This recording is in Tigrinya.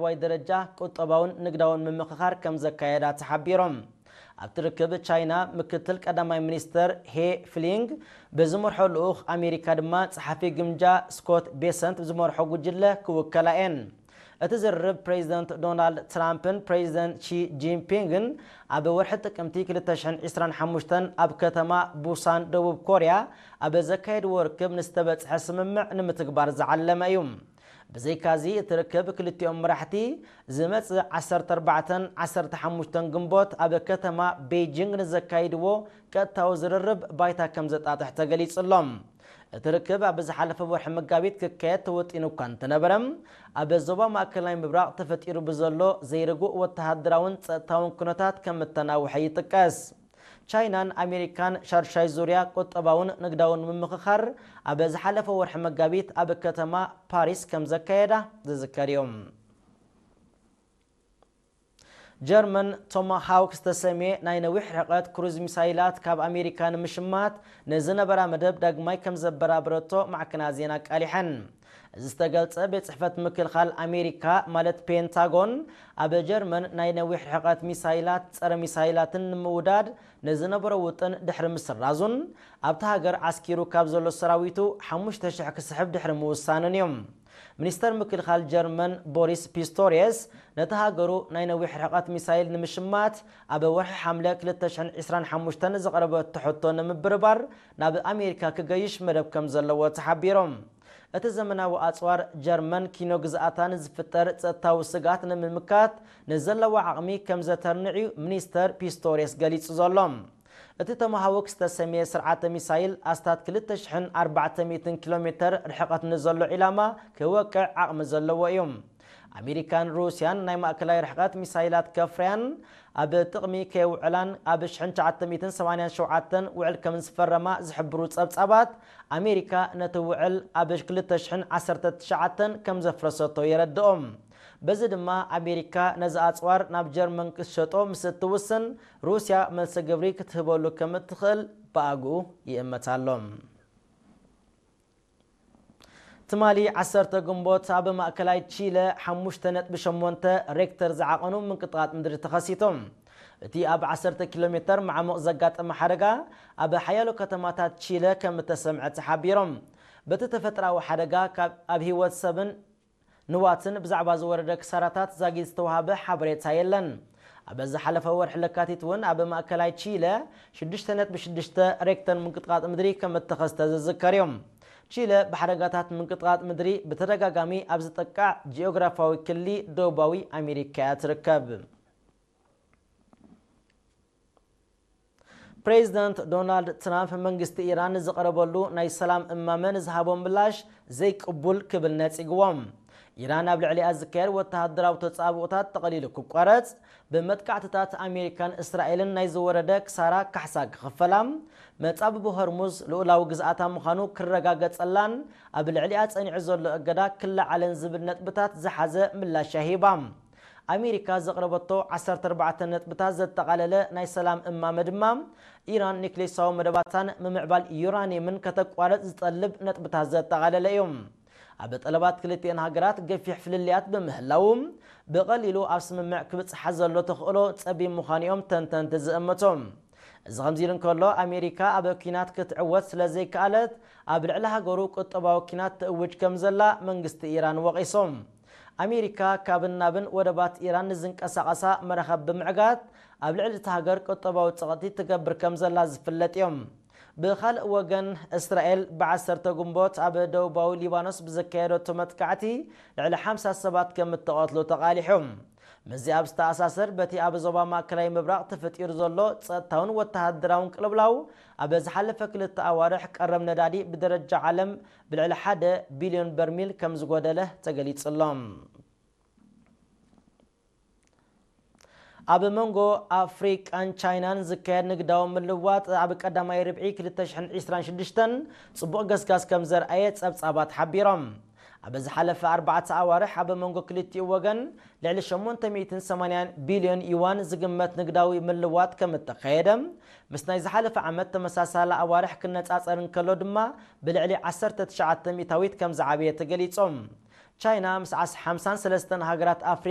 ዋይ ደረጃ ቁጠባውን ንግዳውን ምምኽኻር ከም ዘካየዳ ተሓቢሮም። ኣብቲ ርክብ ቻይና ምክትል ቀዳማይ ሚኒስተር ሄ ፍሊንግ ብዝመርሖ ልኡኽ፣ ኣሜሪካ ድማ ጸሓፊ ግምጃ ስኮት ቤሰንት ዝመርሖ ጉጅለ ክውከላ እየን። እቲ ዝርርብ ፕሬዚደንት ዶናልድ ትራምፕን ፕሬዚደንት ሺ ጂንፒንግን ኣብ ወርሒ ጥቅምቲ ክልተ ሽሕን ዕስራን ሓሙሽተን ኣብ ከተማ ቡሳን ደቡብ ኮርያ ኣብ ዘካየድዎ ርክብ ንዝተበጽሐ ስምምዕ ንምትግባር ዝዓለመ እዩ። ብዘይካዚ እቲ ርክብ ክልቲኦም መራሕቲ ዝመጽእ ዓሰርተ ኣርባዕተን ዓሰርተ ሓሙሽተን ግንቦት ኣብ ከተማ ቤጂንግ ንዘካይድዎ ቀጥታዊ ዝርርብ ባይታ ከም ዘጣጥሕ ተገሊጹ ኣሎ። እቲ ርክብ ኣብ ዝሓለፈ ወርሒ መጋቢት ክካየድ ተወጢኑ እኳ እንተነበረ፣ ኣብ ዞባ ማእከላይ ምብራቕ ተፈጢሩ ብዘሎ ዘይርጉእ ወተሃደራውን ጸጥታውን ኩነታት ከም እተናውሐ ይጥቀስ። ቻይናን ኣሜሪካን ሻድሻይ ዙርያ ቁጠባውን ንግዳውን ምምኽኻር ኣብ ዝሓለፈ ወርሒ መጋቢት ኣብ ከተማ ፓሪስ ከም ዘካየዳ ዝዝከር እዩ። ጀርመን ቶማሃውክ ዝተሰምየ ናይ ነዊሕ ርሕቀት ክሩዝ ሚሳይላት ካብ ኣሜሪካ ንምሽማት ንዝነበራ መደብ ዳግማይ ከም ዘበራበረቶ ማዕከናት ዜና ኣቃሊሐን። እዚ ዝተገልጸ፣ ቤት ጽሕፈት ምክልኻል ኣሜሪካ ማለት ፔንታጎን ኣብ ጀርመን ናይ ነዊሕ ርሕቀት ሚሳይላት፣ ጸረ ሚሳይላትን ንምውዳድ ንዝነበሮ ውጥን ድሕሪ ምስራዙን ኣብታ ሃገር ዓስኪሩ ካብ ዘሎ ሰራዊቱ ሓሙሽተ ሽሕ ክስሕብ ድሕሪ ምውሳኑን እዮም። ሚኒስተር ምክልኻል ጀርመን ቦሪስ ፒስቶሪየስ ነቲ ሃገሩ ናይ ነዊሕ ርሕቀት ሚሳይል ንምሽማት ኣብ ወርሒ ሓምለ ክልተ ሽሕን ዕስራን ሓሙሽተን ዘቕረበቶ ሕቶ ንምብርባር ናብ ኣሜሪካ ክገይሽ መደብ ከም ዘለዎ ተሓቢሮም። እቲ ዘመናዊ ኣጽዋር ጀርመን ኪኖ ግዝኣታ ንዝፍጠር ጸጥታዊ ስግኣት ንምምካት ንዘለዋ ዓቕሚ ከም ዘተርንዕ እዩ ሚኒስተር ፒስቶሪየስ ገሊጹ ዘሎ። እቲ ቶማሃውክ ዝተሰምየ ስርዓተ ሚሳይል ኣስታት ክልተ ሽሕን ኣርባዕተ ሚእትን ኪሎ ሜተር ርሕቐት ንዘሎ ዒላማ ክወቅዕ ዓቕሚ ዘለዎ እዩ። ኣሜሪካን ሩስያን ናይ ማእከላይ ርሕቐት ሚሳይላት ከፍርያን ኣብ ጥቕሚ ከየውዕላን ኣብ ሽሕን ትሽዓተ ሚእትን ሰማንያን ሸውዓተን ውዕል ከም ዝፈረማ ዝሕብሩ ጸብጻባት፣ ኣሜሪካ ነቲ ውዕል ኣብ ክልተ ሽሕን ዓሰርተ ትሽዓተን ከም ዘፍረሰቶ የረድኦም። በዚ ድማ ኣሜሪካ ነዚ ኣጽዋር ናብ ጀርመን ክትሸጦ ምስ እትውስን፣ ሩስያ መልሲ ግብሪ ክትህበሉ ከም እትኽእል ብኣግኡ ይእመት ኣሎ። ትማሊ ዓሰርተ ግንቦት ኣብ ማእከላይ ቺለ ሓሙሽተ ነጥቢ ሸሞንተ ሬክተር ዝዓቐኑ ምንቅጥቓጥ ምድሪ ተኸሲቱ። እቲ ኣብ ዓሰርተ ኪሎ ሜተር ማዕሙቕ ዘጋጠመ ሓደጋ ኣብ ሓያሎ ከተማታት ቺለ ከም እተሰምዐ ተሓቢሮም። በቲ ተፈጥሮኣዊ ሓደጋ ካብ ኣብ ህይወት ሰብን ንዋትን ብዛዕባ ዝወረደ ክሳራታት ዛጊት ዝተዋሃበ ሓበሬታ የለን። ኣብ ዝሓለፈ ወርሒ ለካቲት እውን ኣብ ማእከላይ ቺለ ሽዱሽተ ነጥቢ ሽዱሽተ ሬክተር ምንቅጥቃጥ ምድሪ ከም እተኸስተ ዝዝከር እዩ። ቺለ ብሓደጋታት ምንቅጥቃጥ ምድሪ ብተደጋጋሚ ኣብ ዝጠቃዕ ጂኦግራፋዊ ክሊ ደቡባዊ ኣሜሪካ እያ ትርከብ። ፕሬዚደንት ዶናልድ ትራምፕ መንግስቲ ኢራን ንዝቐረበሉ ናይ ሰላም እማመ ንዝሃቦ ምላሽ ዘይቅቡል ክብል ነጺግዎም። ኢራን ኣብ ልዕሊኣ ዝካየድ ወተሃደራዊ ተጻብኦታት ጠቕሊሉ ክቋረጽ፣ ብመጥቃዕትታት ኣሜሪካን እስራኤልን ናይ ዝወረደ ክሳራ ካሕሳ ክኽፈላ፣ መጻብቦ ሆርሙዝ ልኡላዊ ግዝኣታ ምዃኑ ክረጋገጸላን ኣብ ልዕሊኣ ጸኒዑ ዘሎ እገዳ ክለዓልን ዝብል ነጥብታት ዝሓዘ ምላሽ እያ ሂባ። ኣሜሪካ ዘቕረበቶ ዓሰርተ ኣርባዕተ ነጥብታት ዘጠቓለለ ናይ ሰላም እማመ ድማ፣ ኢራን ኒክሌሳዊ መደባታን ምምዕባል ዩራኒየምን ከተቋርጽ ዝጠልብ ነጥብታት ዘጠቓለለ እዩ። ኣብ ጠለባት ክልቲኤን ሃገራት ገፊሕ ፍልልያት ብምህላዉ፣ ብቐሊሉ ኣብ ስምምዕ ክብጽሓ ዘሎ ተኽእሎ ጸቢብ ምዃኑ እዮም ተንተንቲ ዝእምቱ። እዚ ከምዚ ኢሉ እንከሎ፣ ኣሜሪካ ኣብ ኲናት ክትዕወት ስለ ዘይከኣለት፣ ኣብ ልዕሊ ሃገሩ ቁጠባዊ ኲናት ትእውጅ ከም ዘላ መንግስቲ ኢራን ወቒሱ። ኣሜሪካ ካብን ናብን ወደባት ኢራን ንዝንቀሳቐሳ መራኸብ ብምዕጋት፣ ኣብ ልዕሊ እታ ሃገር ቁጠባዊ ጸቕጢ ትገብር ከም ዘላ ዝፍለጥ እዮም። ብኻልእ ወገን፣ እስራኤል ብዓሰርተ ግንቦት ኣብ ደቡባዊ ሊባኖስ ብዘካየደቶ መጥቃዕቲ ልዕሊ ሓምሳ ሰባት ከም እተቐትሉ ተቓሊሑ። ምስዚ ኣብ ዝተኣሳሰር፣ በቲ ኣብ ዞባ ማእከላይ ምብራቕ ተፈጢሩ ዘሎ ጸጥታውን ወተሃደራውን ቅልውላው፣ ኣብ ዝሓለፈ ክልተ ኣዋርሕ ቀረብ ነዳዲ ብደረጃ ዓለም ብልዕሊ ሓደ ቢልዮን በርሚል ከም ዝጎደለ ተገሊጹ ኣሎ። ኣብ መንጎ ኣፍሪቃን ቻይናን ዝካየድ ንግዳዊ ምልዋጥ ኣብ ቀዳማይ ርብዒ ክልተ ሽሕን ዕስራን ሽዱሽተን ጽቡቕ ገስጋስ ከም ዘርኣየ ጸብጻባት ሓቢሮም። ኣብ ዝሓለፈ ኣርባዕተ ኣዋርሕ ኣብ መንጎ ክልቲኡ ወገን ልዕሊ ሸሞንተ ሚእትን ሰማንያን ቢልዮን ዩዋን ዝግመት ንግዳዊ ምልዋጥ ከም እተኻየደ፣ ምስ ናይ ዝሓለፈ ዓመት ተመሳሳሊ ኣዋርሕ ክነጻጸር እንከሎ ድማ ብልዕሊ ዓሰርተ ትሽዓተ ሚእታዊት ከም ዝዓበየ ተገሊጾም። ቻይና ምስ ዓስ ሓምሳን ሰለስተን ሃገራት ኣፍሪቃ